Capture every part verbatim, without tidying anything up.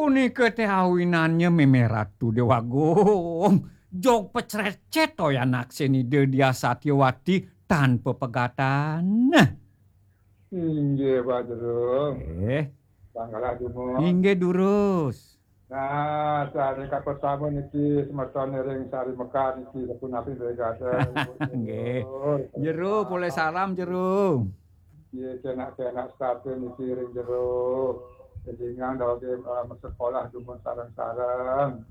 Punika téh awinannya mémé Ratu Déwa Agung. Jog pecrecet toyan aksen Ida Diah Satyawati tanpa pegatan. Inggih, Pak Jero. Eh. Tanggalah dumun. Inggih, durus. Nah, sané kapertama niki semeton ring Sari Mekar niki sapunapi Ibu Eka. Nggih. Jero, polih salam, Jero. Nggih, kenak-kenak setata niki ring Jero. Élingang daweg, eh, masekolah dumun sareng-sareng.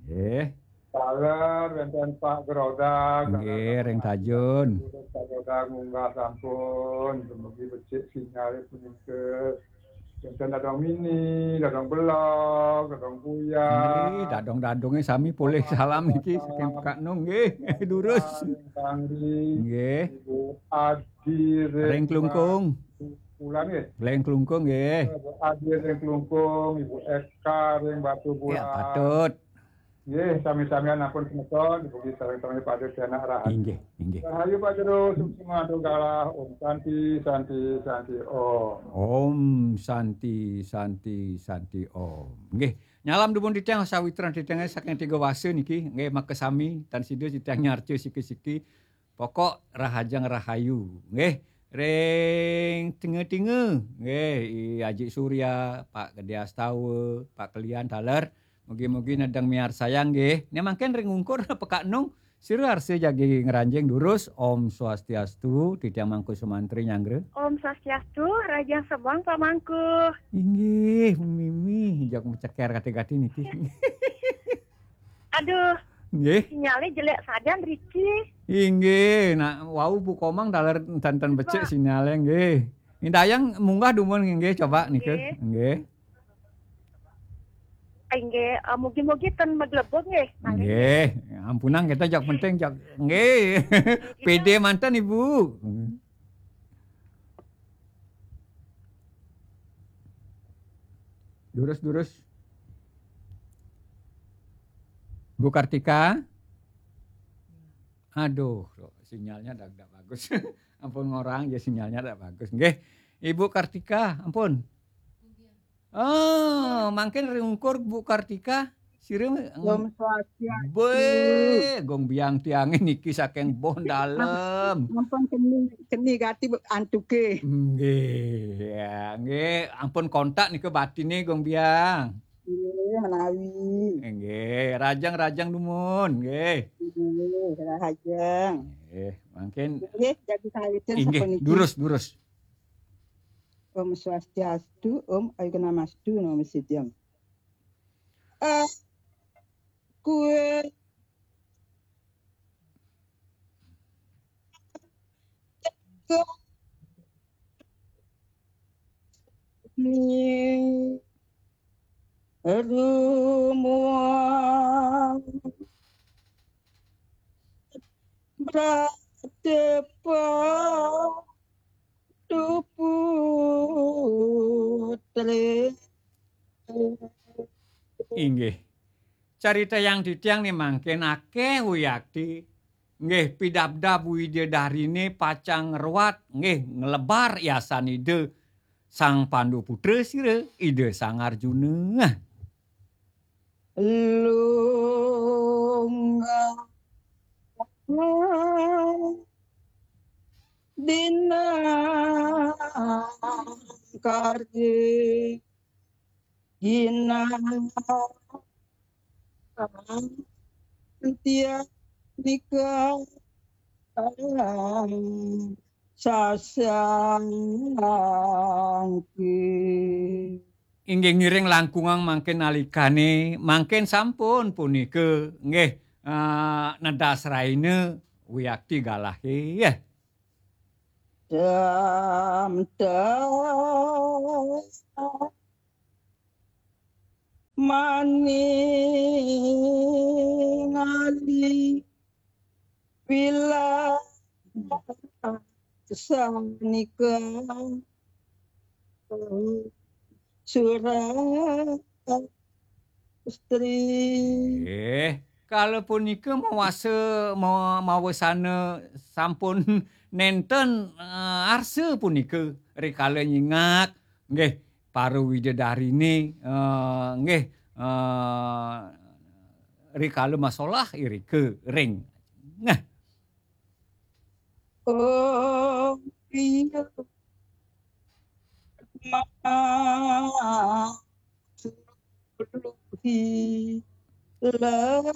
Nggih. Taler wénten Pak Gerodag, nggih, ring Tajun. Pak Gerodag munggah sampun, dumugi becik sinyalé punika. Wénten Dadong Mini, Dadong Belog, Dadong Buyang. Nggih, dadong-dadongé sami polih salam niki saking Pekak Nung, nggih, durus. Bangri, nggih. Ibu Adi ring Klungkung. Pulang, nggih. Ring Klungkung, nggih. Ibu Adi ring Klungkung, Ibu Eka ring Batu Bulan. Ya, patut. Nggih, sami-samian ampun semeton, dipuji sareng sami pada tianak rahayu. Inggih, inggih. Rahayu Pak Jero, suksma antuk galah, Om Santi, Santi, Santi, Om. Om Santi, Santi, Santi, Om. Nggih, nyalam dumun titiang sawitran titiangé saking tiga wasa niki, nggih, makasami, tan sida titiang nyarca siki-siki, pokok rahajeng rahayu, nggih. Ring tinga-tinga, nggih, I Aji Surya, Pak Gedé Astawa, Pak Kelian taler, mugi-mugi nedeng miarsayang nggih. Né mangkin ring ungkur Pekak Nung, sira arsa jagi ngranjing durus. Om Swastiastu, titiang Mangku Sumantri nyanggra. Om Swastiastu, rahajeng semeng Pak Mangku. Inggih, mimih, jak maceker kati-kati niki. Aduh. Nggih. Sinyalé jelék sajan riki. Inggih, nak wau Bu Komang taler ten-ten becik sinyalé nggih. Indayang munggah dumun nggih coba nika. Nggih. Nggih. Inggih, eh, mugi-mugi ten maglebug nggih. Nggih, ampunang kita jak penting jak nggih. Pédé manten Ibu. Durus, durus. Bu Kartika? Aduh, sinyalnya dak, dak bagus. Ampun ngorang ya sinyalnya dak bagus. Nggih. Ibu Kartika, ampun. Oh, mangkin ring ungkur Bu Kartika, sira Om Swastiastu. Bé, gong biang tiangé niki saking Bon Dalem. Ampun keni, keni gati antuké. Nggih, ya, nggih. Ampun kontak nika batiné gong biang. Nggih, menawi. Nggih, rajang-rajang dumun, nggih. Nggih, rajang. Nggih, mangkin. Nggih, jagi sawitin inggih, sapuniki. Durus, durus. Om Swastiastu, Om Ayu Namastu, Namo Siddham. Eh, kue ni rumah berdepan tu putri. Inggih. Carita yang titiang ni mangkin akéh wiakti. Nggih, pidabdab widadariné pacang ngruat, nggih, nglebar yasan Ida Sang Pandu Putra sira, Ida Sang Arjuna. Lunga dina kardi gina tia nika sasangki. Inggih ngiring langkungang mangkin nalikané, mangkin sampun punika, nggih, eh, nedas raina wiakti galahé, ya. Dam, dam, maning ali. Bila sanika surat istri. Eh, kala punika mawasa ma-, mawasana sampun nénten, eh, arsa punika rikala nyingak, nggih, para widadariné, eh, nggih, eh, rikala masolah irika ring. Nah. Oh, iya. Ma-, suluhi. La-,